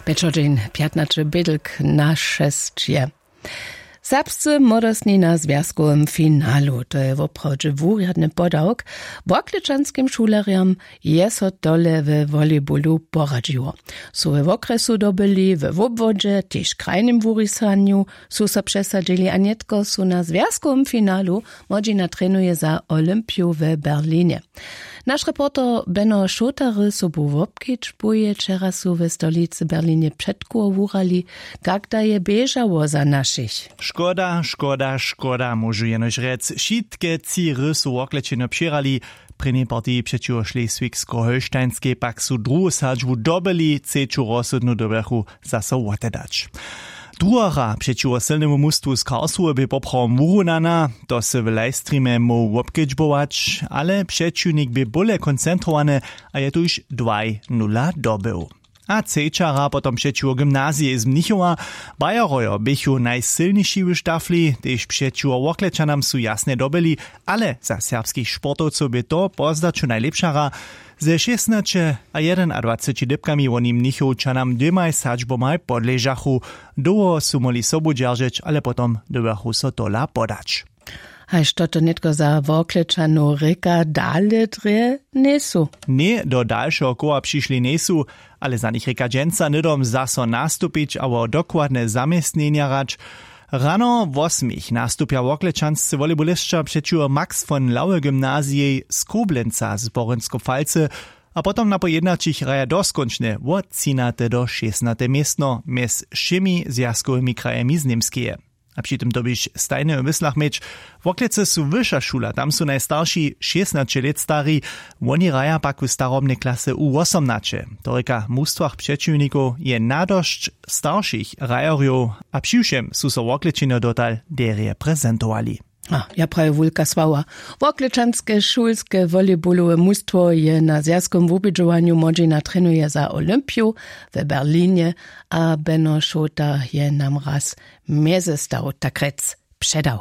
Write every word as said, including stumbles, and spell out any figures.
Pječodźeń pjatnaće bědlk na šesć je. Serbscy młodostni na zwjazkowym finalu, to je woprawdźe wurjadny podawk. W Worklečanskim šulerjam je so tole we volejbolu poradźiło. Su we wokrjesu dobyli, we wobwodźe tež w krajnym wurisanju su so přesadźili a nětko su na zwjazkowym finalu. Młodźina trenuje za olympiju we berlinje. Naš reporter Beno Šotary sobu wobkedźbuje, wčera su we stolicy berlinje předkoło wurali. Kak da je běžało za našich? Škoda, škoda, škoda, móžu jenož rjec. Wšitke tři hry su worklečenjo přěhrali. W prěnjej partiji přećiwo šleswigsko-holštajnskej pak su druhu sadźbu dobyli, třeću rozsudnu dyrbjachu zaso wotedać. Druha hra přećiwo sylnemu mustwu z Karlsruhe bě poprawom wurunana. To sy w livestreamje móhł wobkedźbować, ale přećiwnik bě bóle koncentrowany a je tuž dwaj nula dobył. A třeća hra potom přećiwo gymnazijej z Mnichowa. Bayerojo běchu najsylniši w štafli, tež přećiwo Worklečanam su jasnje dobyli, ale za serbskich sportowcow bě to po zdaću najlěpša hra. Ze šěsnaće a jedenadwaceći dypkami woni Mnichowčanam dwěmaj sadźbomaj podležachu. Dołho su móhli sobu dźeržeć, ale potom dyrbjachu so tola podać. Haž to to nětko za Worklečanow rěka, dale drje njejsu. Ně, do dalšeho koła přišli njejsu, ale za nich rěka dźensa hnydom zaso nastupić abo dokładne zaměstnjenja hrać. Rano wosmich nastupja worklečanscy volejbolisća přećiwo Max von Laue gymnazijej z Koblenca z Porynsko-Falcy a potom na pojědnaćich hraja doskónčnje wotřinate do šěsnate městno mjez wšěmi zwjazkowymi krajemi z Němskeje. A při tym dyrbiš stajnje w myslach měć, Worklecy su wyša šula, tam su najstarši šěsnaće lět stari. Woni hraja pak w starobnej klase u wosomnaće. To rěka, w mustwach přećiwnikow je nadosć staršich hrajerjow a přiwšěm su so Worklečenjo dotal derje prezentowali. A ja prawi wulka sława. Worklečanske šulske volejbolowe mustwo je na zwjazkowym wubědźowanju młodźina trenuje za olympiju we berlinje. A beno šota je nam raz mjezestaw tak rjec předał.